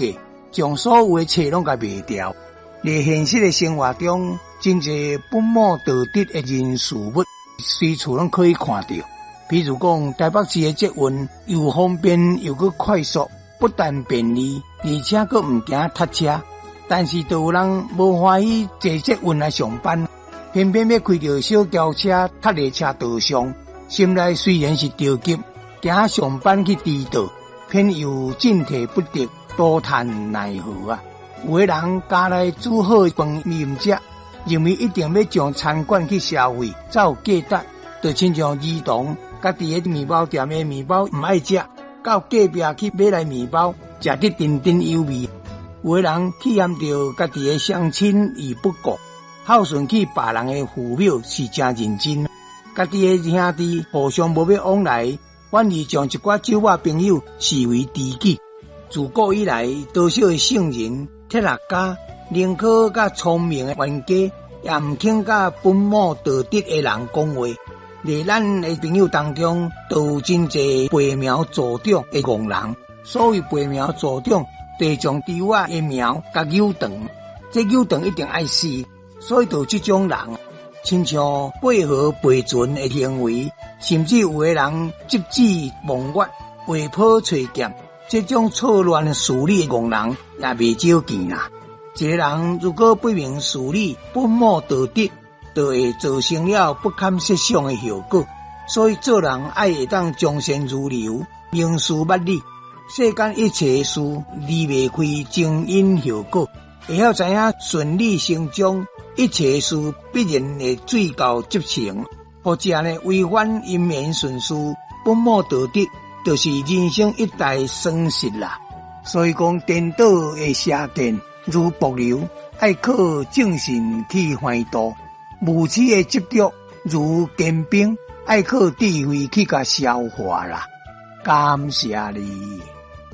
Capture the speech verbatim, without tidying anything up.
價，將所有的冊攏共賣掉。佇現實的生活中，真濟本末倒置的人事物，隨處攏可以看著。比如講，台北市的捷運又方便又閣快速，不但便利，而且閣毋驚塞車。但是，就有人無歡喜坐捷運來上班，偏偏欲開著小轎車塞佇車道上，心內雖然是著急，驚上班去遲到，偏又進退不得，多嘆奈何啊！有的人家內煮好飯伊毋食，認為一定欲上餐館去消費，才有價值。就親像兒童，家己的麵包店的麵包毋愛食，到隔壁去買來麵包，食得津津有味。有的人棄嫌著家己的雙親而不顧，孝順起別人的父母是誠認真。家己的兄弟互相無欲往來，反而將一寡酒肉朋友視為知己。自古以來，多少的聖人、哲學家，寧可佮聰明的冤家，也毋肯佮本末倒置的人講話。佇咱的朋友當中，都有真濟拔苗助長的戇人。所謂拔苗助長，就是將豬仔的苗共扭長，這扭長一定愛死，所以就有這種人，親像過河跋船的行為，甚至有的人執子望月、畫坡揣劍，這種錯亂事理的戇人也袂少見啦。一个人如果不明事理、本末倒置，就會造成了不堪設想的後果。所以做人愛會當從善如流、明事物理，世間一切事離袂開前因後果，會曉知影順理成章，一切事必然會水到渠成。或者呢，違反因緣順序、本末倒置，就是人生一大損失啦。所以講，顛倒的邪見如瀑流，愛靠正信去橫渡；無始的執著如堅冰，愛靠智慧去共消化啦。感謝你。